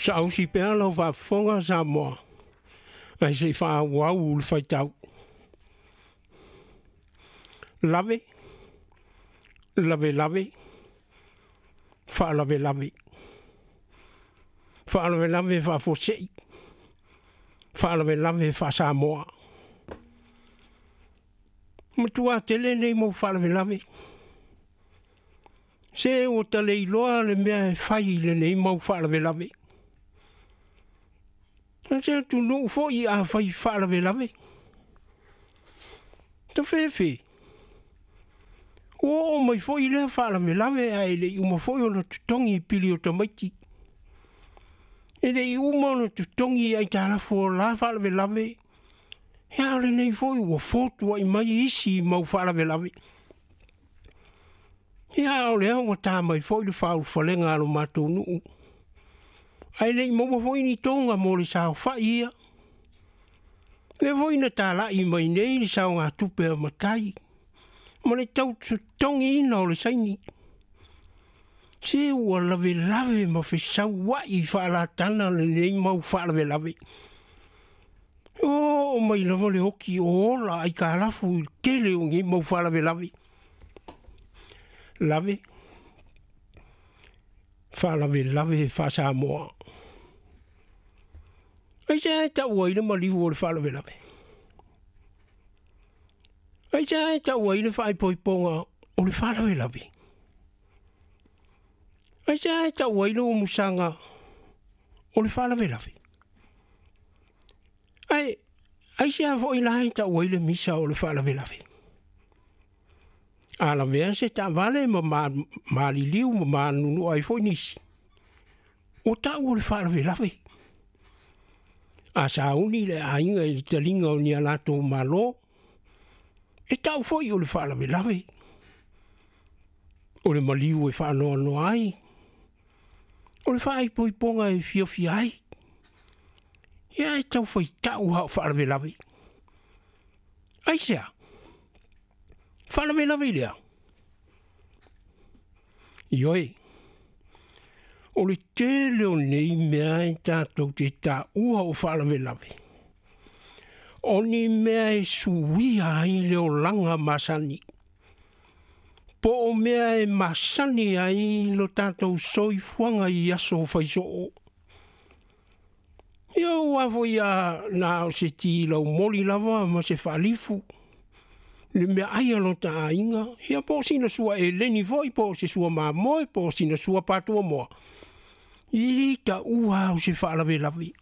Saausi pea lau faafofoga Samoa, ae se i faaauau le faitau. Lave, lavelave, faalavelave. Faalavelave faafuasei, faalavelave faa-Samoa. Matua tele nei mau faalavelave. Se ua ta le iloa le mea e fai i lenei mau faalavelave. O se atunuu foi a fai faalavelave. Tafefe, ua oo mai foi lea faalavelave ae le i uma foi ona totogi pili o tamaiti. E le i uma ona totogi aitalafu o la faalavelave, ia a o lenei foi ua fotuai mai isi mau faalavelave. Ia a o lea ua ta mai foi le faaulufalega a lo matou nuu, ae le i maua foi ni toga mo le saofai ia. Lea foi na talai mai nei le saogatupe a matai ma le tau totogiina o le saini. Se ua lavelave ma fesauai faalatana lenei mau faalavelave. Oo mai lava le oti o ola aitalafu i le tele o nei mau faalavelave. Lave, faalavelave faa-Samoa. Aisea e tau ai le maliu o le faalavelave? Aisea e tau ai le faaipoipoga o le faalavelave? Aisea e tau ai le umusaga o le faalavelave? Ae aisea foi la e tau ai le misa o le faalavelave? A lavea se taavale ma maliliu ma manunua ai foi nisi, ua tau o le faalavelave. A sauni le aiga i le taliga o ni a latou malo, e tau foi o le faalavelave. O le maliu e faanoanoa ai, o le faaipoipoga e fiafia ai. Ia e tau faitau lava o faalavelave. Aisea? Faalavelave i le a? Ioe, o le tele o nei mea e tatou te taua o faalavelave, o ni mea e suia ai le olaga masani, po o mea e masani ai lo tatou soifuaga i aso faisoo. Ia aua foi a na o se ti laumoli lava ma se faalifu, le meaai a lota aiga, ia po o sina sua eleni foi, po o se sua mamoe, po o sina sua patuamoa, i taua au se faalavelave.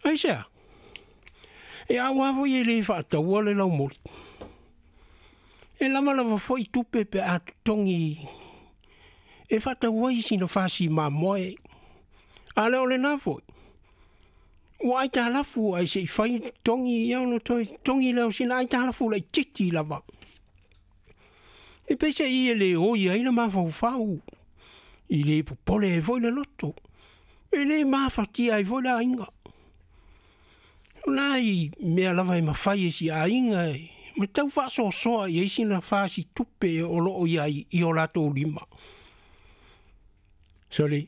Aisea? E aua foi e le faataua le laumoli. E lava lava foi tupe pe a totogi e faatau ai sina fasi mamoe. A le o lena foi, ua aitalafu ae se i fai totogi, ia ona toe totogi lea o sina aitalafu laitiiti lava. E peiseai e le oi ai le mafaufau, i le popole ai foi le loto, e le mafatia ai foi le aiga. O nai mea lava e mafai e si aiga e ma tau faasoasoa i ai sina fasi tupe o lo o i ai i o latou lima. Soli,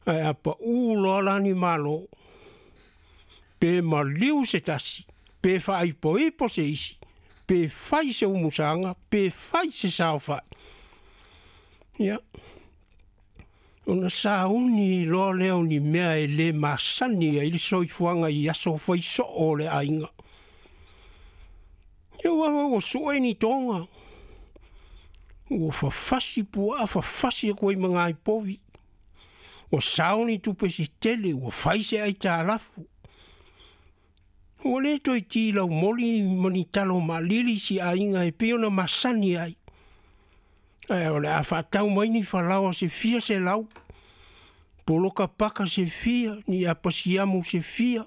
ae a pau loa la ni malo, pe maliu se tasi, pe faaipoipo se isi, pe fai se umusaga, pe fai se saofai. Ia, ona sauni loa lea o ni mea e le masani ai le soifuaga i aso faisoo o le aiga. Ia ua ua sue ni toga, ua fafasi puaa, fafasi atu ai ma nai povi, ua sao ni tupe se tele, ua fai se aitalafu. Ua le toe ti laumoli ma ni talo maalili si aiga e pei ona masani ai. Ae o le a faatau mai ni falaoa se fia selau, poloka paka se fia, ni apasiamu se fia,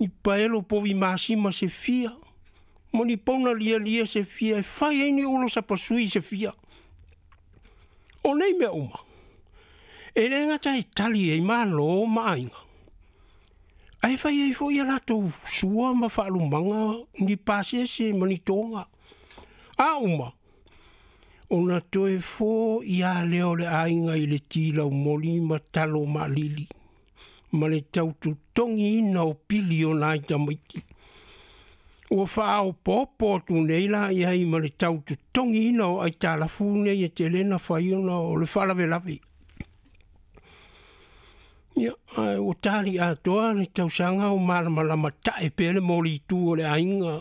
ni paelo povi masima se fia, ma ni pauna lialia se fia, e fai ai ni ulo sapasui se fia. O nei mea uma, e le gata e tali ai malo ma aiga, ae fai ai foi a latou sua ma faalumaga, ni pasese ma ni toga. A uma, Ona toe fo'i lava lea o le aiga i le ti laumoli ma talo maalili ma le tau totogiina o pili o nai tamaiti. Ua faaopoopo atu nei la i ai ma le tau totogiina o aitalafu nei e tele na fai ona o le faalavelave. Ia, ae ua tali atoa le tausaga o malamalama tae pea le molitu o le aiga.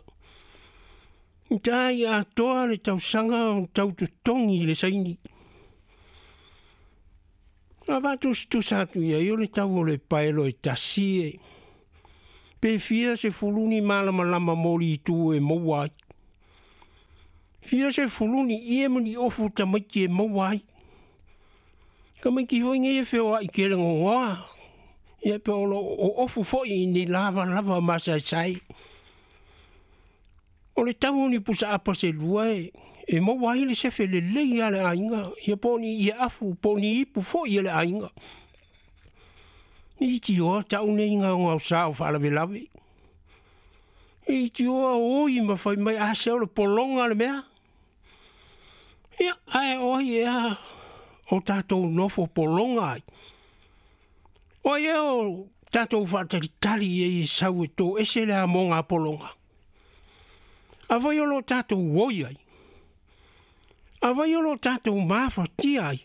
Tai atoa le tausaga o tau totogi i le saini. A faatusatusa atu i ai o le tau o le paelo e tasi e pe fia sefulu ni malamalama molitu e maua ai. Fia sefulu ni ie ma ni ofu tamaiti e maua ai. Tamaiti foi nei e feoai tele gogoa. Ia pe o lo o ofu foi i ni lavalava masaesae. O le tau o ni pusaapa se lua e maua ai le sefe lelei a le aiga, ia po o ni ieafu, po o ni ipu foi a le aiga. E itioa tau nei gaogaosa o faalavelave. E itioa oi ma fai mai, a se o le pologa le mea. Ia, ae o ai ea o tatou nofo pologa ai? O ai ea o tatou faatalitali i ai e sau e toese le amoga pologa? Afai o lo o tatou oi ai, afai o lo o tatou mafatia ai,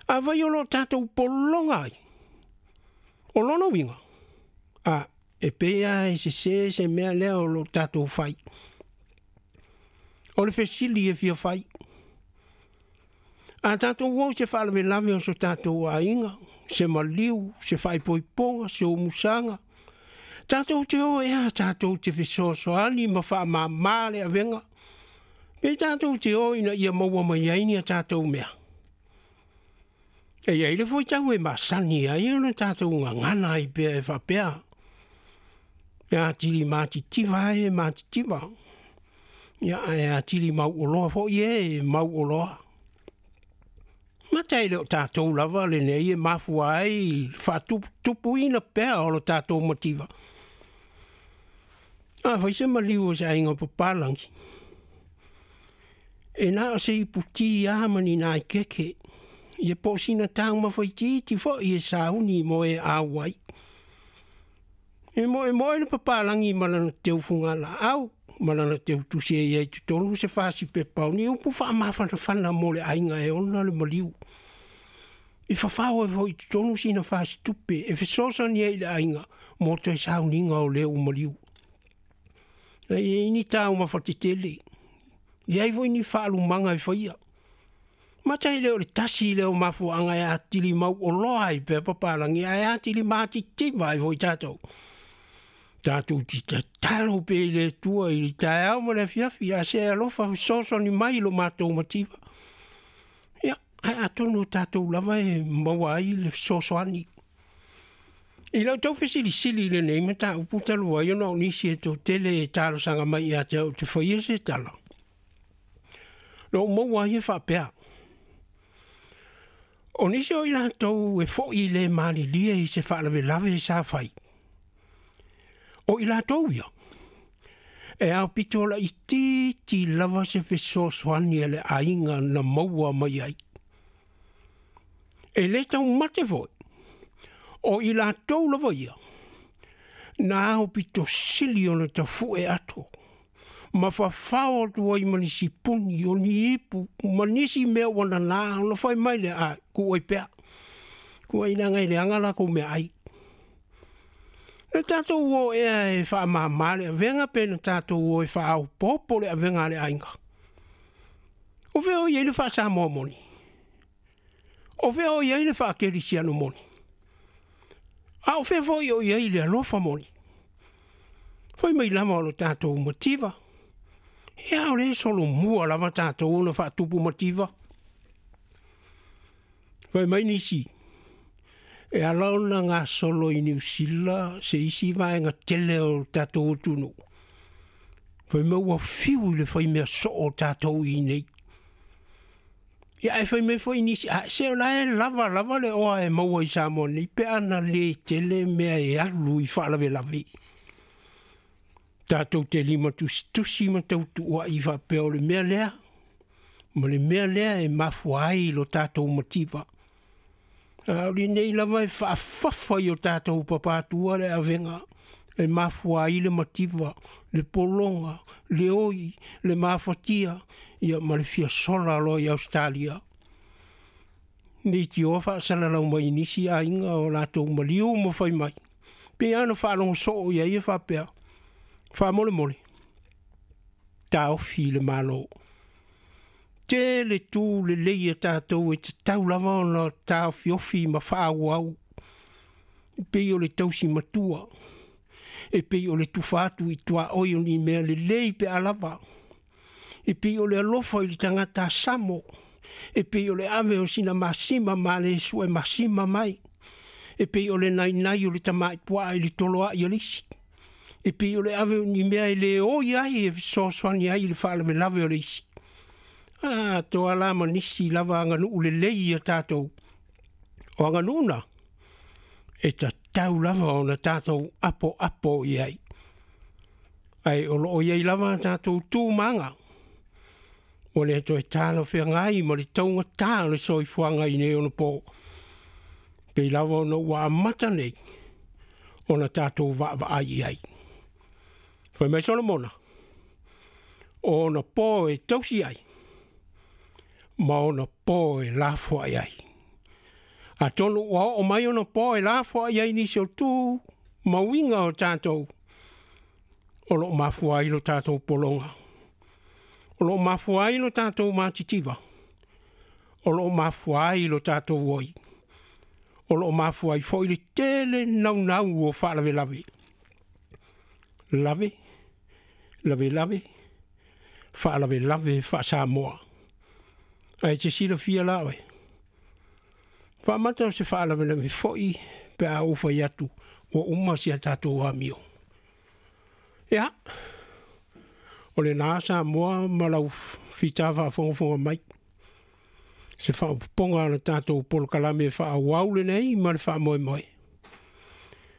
afai o lo o tatou pologa ai, o lona uiga, a, e pei lava e sese se mea lea o lo o tatou fai. O le fesili e fia fai, a tatou o i se faalavelave o so tatou aiga, se maliu, se faaipoipoga, se umusaga, tatou te o ea tatou te fesoasoani ma faamama le avega, pe tatou te o ina ia maua mai ai ni a tatou mea. E i ai le fuaitau e masani ai ona tatou gagana ai pea e faapea, e atili matitiva ai e matitiva, ia ae atili mauoloa foi e mauoloa. Mata e le o tatou lava lenei e mafua ai le faatuputupuina pea o lo tatou mativa. A fai se maliu o se aiga papalagi, e na o se iputi lava ma ni naikeke, ia po o sina taumafa itiiti foi e sauni mo e auai. E moemoe le papalagi ma lana teu fugalaau ma lana teu tusi e i ai totonu se fasipepa o ni upu faamafanafana mo le aiga e ona le maliu. I fafao ai foi i totonu sina fasitupe e fesoasoani ai i le aiga mo toe sauniga o le ua maliu. E i ai ni taumafa tetele, e i ai foi ni faalumaga e faia. Mata e le o le tasi lea o mafuaaga e atili mauoloa ai pea papalagi ae atili matitiva ai foi tatou. Tatou te tatalo pea i le Atua i le taeao ma le afiafi, a se alofa fesoasoani mai i lo matou mativa. Ia, ae atonu o tatou lava e maua ai le fesoasoani. I lau tau fesilisili i lenei mataupu talu ai ona o nisi e toatele e talosaga mai ia te au ou te faia se tala, na ou maua ai e faapea, O nisi o i latou e fo'i le malilie i se faalavelave sa fai, o i latou ia, e aopito laitiiti lava se fesoasoani a le aiga na maua mai ai. E le taumate foi, o i latou lava ia, na aopito sili ona tafu'e ato, ma fafao atu ai ma nisi puni, o ni ipu, ma nisi mea ua nanā, ona fai mai lea, A, tuu ai pea, tuu ai leaga e leaga latou meaai. Na tatou o ea e faamama le avega pe na tatou o e faaopoopo le avega a le aiga? O fea o i ai le faa-Samoa moni? O fea o i ai le faakerisiano moni? A o fea foi o i ai le alofa moni? Fai mai lava o lo tatou mativa, ia o lea e solomua lava tatou ona faatupu mativa. Fai mai nisi, e ala ona gasolo i Niu Sila se isi vaega tele o le tatou atunuu, fai mai ua fiu i le fai mea soo o tatou i inei. Ia ae fai mai foi nisi, a se o la e lava lava le oa e maua i Samoa nei pe a na le tele mea e alu i faalavelave. Tatou te limatusitusi ma tautuua'i faapea o le mea lea, Ma le mea lea e mafua ai lo tatou mativa. A o lenei lava e faafafa i o tatou papatua le avega e mafua ai le mativa, le pologa, le oi, le mafatia, ia ma le fia sola loa i Ausetalia. Leitioa faasalalau mai i nisi aiga o latou maliu ma fai mai. Pei lava ona faalogo soo i ai e faapea, faamolemole, taofi le Malo. Tele tu lelei a tatou e tatau lava ona taofiofi ma faaauau, e pei o le tausi matua, e pei o le tufa atu i tuaoi o ni mea lelei pe a lava, e pei o le alofa i le tagata samo, e pei o le ave o sina masima ma le sue masima mai, e pei o le nainai o le tamai puaa i le toloai o le isi, e pei o le ave o ni mea e le oi ai e fesoasoani ai i le faalavelave o le isi. A toa la ma nisi lava aganuu lelei ia tatou. O aganuu na, e tatau lava ona tatou apoapo i ai. Ae o lo o i ai lava a tatou tu ma aga, ua le toe talafeagai ma le taugata o le soifuaga i nei ona po, pei lava ona ua amata nei ona tatou vaavaai i ai. Fai mai Solomona, o ona po e tausi ai, ma ona po e lafoai ai. Atonu ua oo mai ona po e lafoai ai nisi o tu ma uiga o tatou, o lo o mafua ai lo tatou pologa, o lo o mafua ai lo tatou matitiva, o lo o mafua ai lo tatou oi, o lo o mafua ai foi le tele naunau o faalavelave. Lave, lavelave, faalavelave faa-Samoa. Ae te silafia la oe, faamata o se faalavelave foi pe a ou fai atu ua uma si a tatou amio. Ia, o lena Samoa ma lau fita faafogafoga mai, se faaopoopoga o le tatou polokalame faaauau lenei ma le faamoemoe.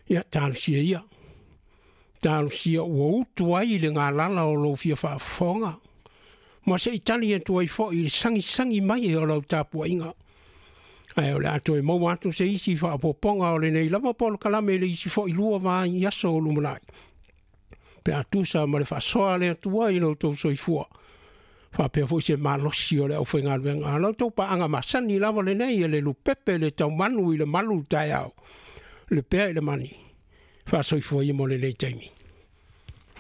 Ia, talosia ia, talosia ua utu ai le galala o lou fia faafofoga, ma se i tali atu ai foi i le sagisagi mai o lau tapuaiga. Ae o le a toe maua atu se isi faaopoopoga o lenei lava polokalame i le isi foi 2 vaiaso o lumanai, pe a tusa ma le faasoa a le Atua i lo outou soifua, faapea foi se malosi o le aufaigaluega. A la outou paaga masani lava lenei e le lupepe le taumanu i le malu taeao, le pea i le mani, faasoifua ia mo lenei taimi.